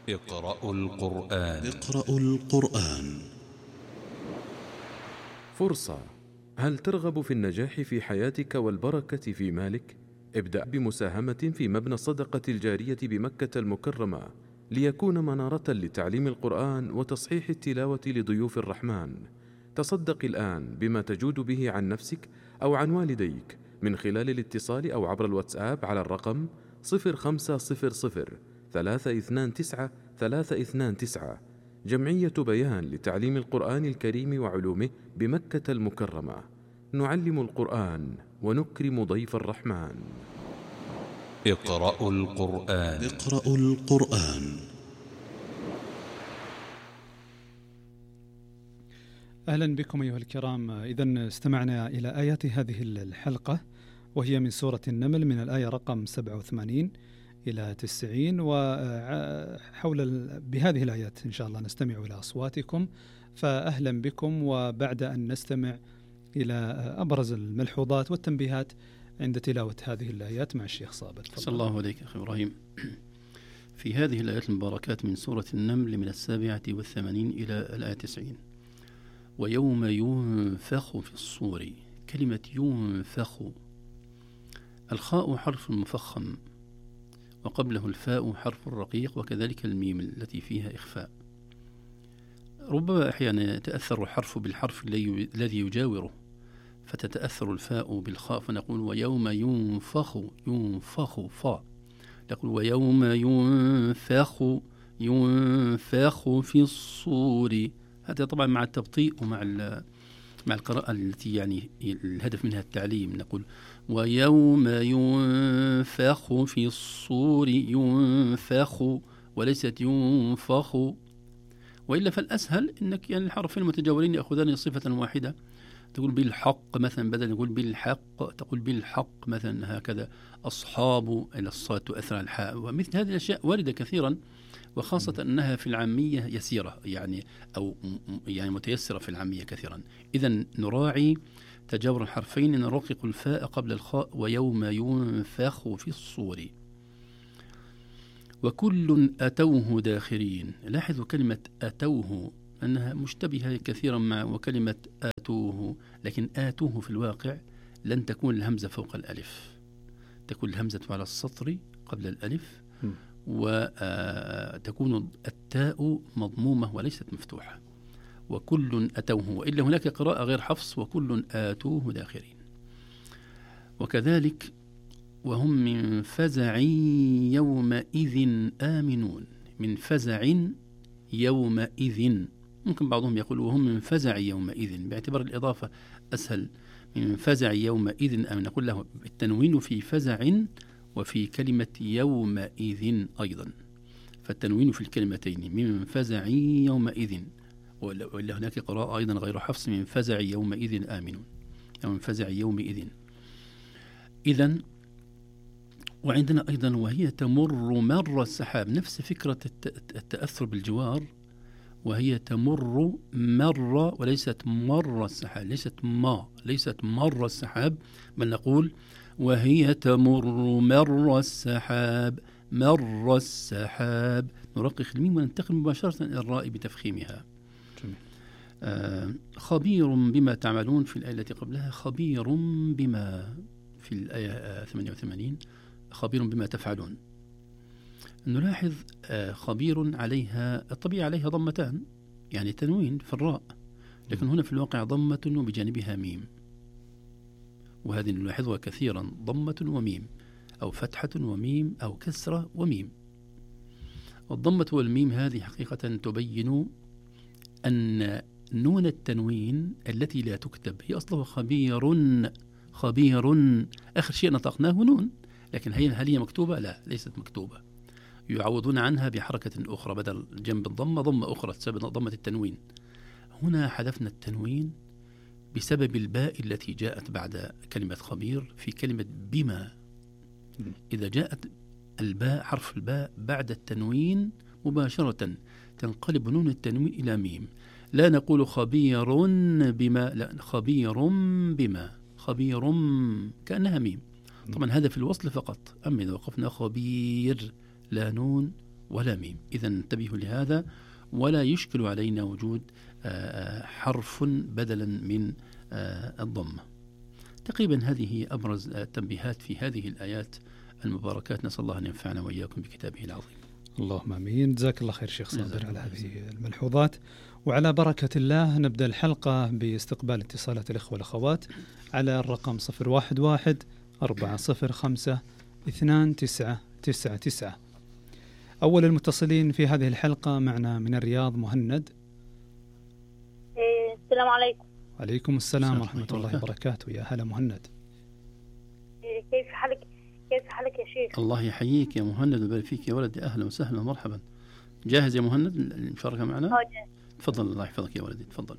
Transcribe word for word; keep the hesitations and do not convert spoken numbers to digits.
اقرأوا القرآن. اقرأوا القرآن. فرصة. هل ترغب في النجاح في حياتك والبركة في مالك؟ ابدأ بمساهمة في مبنى الصدقة الجارية بمكة المكرمة ليكون منارة لتعليم القرآن وتصحيح التلاوة لضيوف الرحمن. تصدق الآن بما تجود به عن نفسك أو عن والديك من خلال الاتصال أو عبر الواتساب على الرقم صفر خمسة صفر صفر ثلاثة اثنان تسعة ثلاثة اثنان تسعة. جمعية بيان لتعليم القرآن الكريم وعلومه بمكة المكرمة. نعلم القرآن ونكرم ضيف الرحمن. اقرأوا القرآن. اقرأوا القرآن. أهلا بكم أيها الكرام. إذن استمعنا إلى آيات هذه الحلقة وهي من سورة النمل من الآية رقم سبعة وثمانين إلى تسعين، وحول بهذه الآيات إن شاء الله نستمع إلى أصواتكم. فأهلا بكم، وبعد أن نستمع إلى أبرز الملحوظات والتنبيهات عند تلاوة هذه الآيات مع الشيخ صابر. صلى الله عليك أخي إبراهيم. في هذه الآيات المباركات من سورة النمل من السابعة والثمانين إلى الآية تسعين: ويوم ينفخ في الصور. كلمة ينفخ، الخاء حرف مفخم وقبله الفاء حرف رقيق، وكذلك الميم التي فيها إخفاء. ربما أحيانا يتأثر الحرف بالحرف الذي يجاوره فتتأثر الفاء بالخاء، فنقول ويوم ينفخ ينفخ فاء، نقول ويوم ينفخ ينفخ في الصور. هذا طبعا مع التبطيء ومع مع القراءة التي يعني الهدف منها التعليم. نقول ويوم ينفخ في الصور ينفخ وليست ينفخ. وإلا فالأسهل أنك يعني الحرفين المتجاورين يأخذان صفة واحدة، تقول بالحق مثلا بدل نقول بالحق تقول بالحق مثلا، هكذا أصحاب إلى الصاد تؤثر على الحاء. ومثل هذه الأشياء واردة كثيرا، وخاصة أنها في العامية يسيرة يعني أو يعني متيسرة في العامية كثيرا. إذن نراعي تجاور الحرفين، نرقق الفاء قبل الخاء. ويوم ينفخ في الصور وكل أتوه داخرين. لاحظوا كلمة أتوه أنها مشتبهة كثيرا مع وكلمة آتوه، لكن آتوه في الواقع لن تكون الهمزة فوق الألف، تكون الهمزة على السطر قبل الألف، وتكون التاء مضمومة وليست مفتوحة. وكل أتوه، وإلا هناك قراءة غير حفص وكل آتوه داخرين. وكذلك وهم من فزع يومئذ آمنون. من فزع يومئذ، ممكن بعضهم يقول وهم من فزع يومئذ باعتبار الإضافة أسهل. من فزع يومئذ آمن، نقول له التنوين في فزع وفي كلمة يومئذ أيضا، فالتنوين في الكلمتين من فزع يومئذ. وإلا هناك قراءة أيضا غير حفص من فزع يومئذ آمنون أو من فزع يومئذ. إذن وعندنا أيضا وهي تمر مر السحاب، نفس فكرة التأثر بالجوار، وهي تمر مر وليست مر السحاب، ليست ما ليست مر السحاب، بل نقول وهي تمر مر السحاب مر السحاب. نرقق الميم وننتقل مباشرة إلى الراء بتفخيمها. آه خبير بما تعملون في الآية التي قبلها خبير بما في الآية ثمانية وثمانين خبير بما تفعلون. نلاحظ آه خبير عليها الطبيعة عليها ضمتان، يعني تنوين في الراء، لكن هنا في الواقع ضمة وبجانبها ميم، وهذه نلاحظها كثيرا، ضمة وميم أو فتحة وميم أو كسرة وميم. الضمة والميم هذه حقيقة تبين أن نون التنوين التي لا تكتب هي أصلها خبير خبير، آخر شيء نطقناه نون، لكن هي هل هي مكتوبة؟ لا، ليست مكتوبة. يعوضون عنها بحركة أخرى، بدل جنب الضمة ضمة أخرى تسبب ضمة التنوين. هنا حذفنا التنوين بسبب الباء التي جاءت بعد كلمة خبير في كلمة بما. إذا جاءت الباء حرف الباء بعد التنوين مباشرة تنقلب نون التنوين إلى ميم. لا نقول خبير بما، لا، خبير بما، خبير كأنها ميم. طبعا هذا في الوصل فقط، أما إذا وقفنا خبير لا نون ولا ميم. إذا انتبهوا لهذا، ولا يشكل علينا وجود حرف بدلا من الضمة. تقريبا هذه هي أبرز التنبيهات في هذه الآيات المباركات. نسأل الله أن ينفعنا وإياكم بكتابه العظيم. اللهم آمين. جزاك الله خير شيخ صابر على هذه الملحوظات. وعلى بركة الله نبدأ الحلقة باستقبال اتصالات الإخوة والأخوات على الرقم صفر واحد واحد أربعة صفر خمسة اثنان تسعة تسعة تسعة. أول المتصلين في هذه الحلقة معنا من الرياض مهند. السلام عليكم. عليكم السلام ورحمة الله وبركاته. يا هلا مهند. كيف حالك كيف حالك يا شيخ؟ الله يحييك يا مهند ويبارك فيك يا ولدي. أهلا وسهلا ومرحبا. جاهز يا مهند المشاركة معنا؟ اه جاهز. تفضل. الله يحفظك يا ولدي. تفضل.